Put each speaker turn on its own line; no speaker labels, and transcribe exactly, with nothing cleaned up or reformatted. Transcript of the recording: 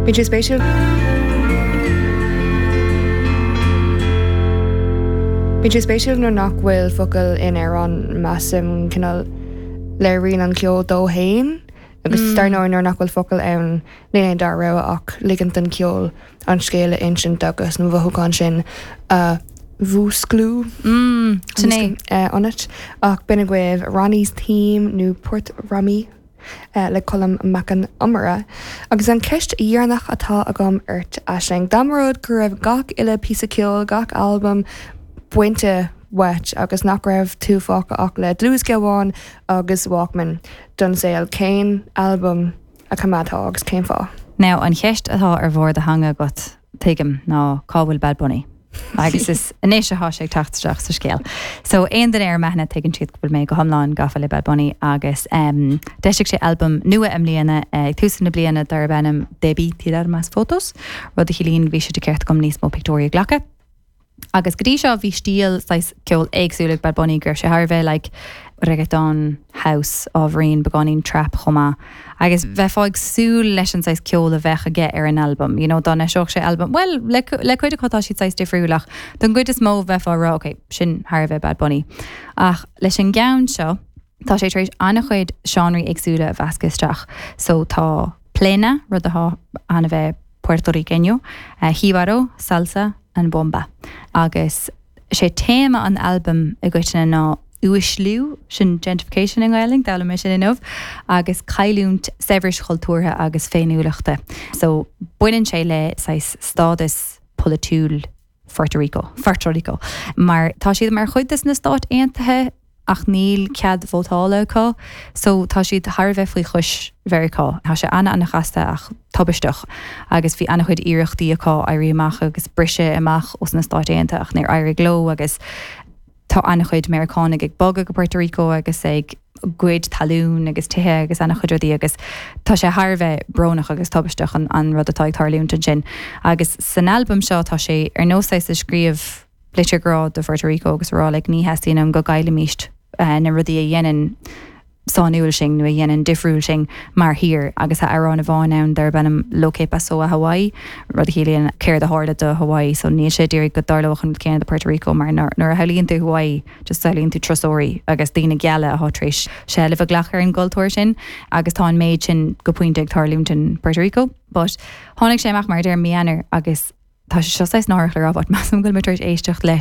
Bíonn sé spéisiúil. Bíonn sé spéisiúil nuair nach bhfuil focail in amhrán measaim cineál léiríonn an ceol dó féin agus mm. dar ndóigh nuair nach bhfuil focail ann níl aon dara rogha ach ligint don cheol an scéal a insint agus na mothúcháin sin a mhúsclú
Mm, sin é.
eh, ionat ach b'in agaibh Ronnie's Theme nó Port Rami eh, le Colm Mac Con Iomaire. Agus an ceist dheireanach atá agam ort Aisling. Dá mba rud go raibh gach uile píosa ceoil gach albam bainte uait agus nach raibh tú fágtha ach le dlúthdhiosca amháin agus Walkman don saol cén albam a choimeádfá agus cén fáth.
Now an cheist atá ar bharr do theanga agat tuigim ná cá bhfuil Bad Bunny. Agus is anois atá sé ag teacht isteach sa scéal. So aon duine ar m'aithne tuigeann siad go bhfuil mé go hiomlán gafa le Bad Bunny agus um, d'eisigh sé albam nua i mbliana ag tús na bliana darb ainm Debí Tirar Más Fotos, rud a chiallaíonn bhí sé de cheart agam níos mó pictiúirí a ghlacadh. Agus go dtí seo bhí stíl saghas ceol éagsúil ag Bad Bunny go raibh sé thar a bheith like reggaeton house ábhairín beagáinín trap chomh maith. Agus bheifeá ag súil leis an saghas ceol a bheadh aige ar an albam. You know, dá n-eiseodh sé albam well le, le cuid acu tá siad saghas difriúil ach don gcuid is mó bheifeá ag rá okay, sin thar a bheith Bad Bunny. Ach leis an gceann seo tá sé tar éis an-chuid seánraí éagsúla a mheascadh isteach. So tá plena rud atá an-bheith Puerto Riqueño, uh, jíbaro, salsa and bomba. Agus sé téama an albam i gcoitinne ná uaisliú sin gentrification i nGaeilge d'fhoghlaim mé sin inniu agus cailliúint saibhris chultúrtha agus féiniúlachta. So baineann sé le saghas stádas polaitiúil Puerto Rico, Puerto Rico. Mar tá siad mar chuid des na Stáit Aontaithe ach níl cead vótála acu, so tá siad thar a bheith faoi chois Mheiriceá. Tá sé ana ana-chasta ach tubaisteach agus bhí an-chuid iarrachtaí acu éirí amach agus briseadh amach os na Stáit Aontaithe ach níor éirigh leo agus tá an-chuid Meiriceánaigh ag bogadh go Puerto Rico agus ag goid talún agus tithe agus an-chuid rudaí agus tá sé thar a bheith brónach agus tubaisteach an, an rud atá ag tarlúint ansin. Agus san albam seo tá sé ar nós é ag scríobh litir grá do Puerto Rico agus rá like, ní theastaíonn go gcaillfimis uh, na rudaí a dhéanann sainiúil sinn nó a dhéanann difriúil sinn mar thír agus tá amhrán amháin ann darb ainm Lo que pasó a Hawaii, rud a chiallaíonn céard a tharla do Hawaii, so níl sé d'iarraidh go dtarlódh an céanna do Puerto Rico mar nuair a shamhlaíonn tú Hawaii just samhlaíonn tú turasóirí agus daoine geala atá tar éis seilbh a ghlacadh ar an gcultúr sin agus tá an méid sin go pointe ag tarlúint in Puerto Rico. But tháinig sé amach mar deir mí Eanáir agus tá sé seo náireach le rá measaim go bhfuil mé tar éis éisteacht leis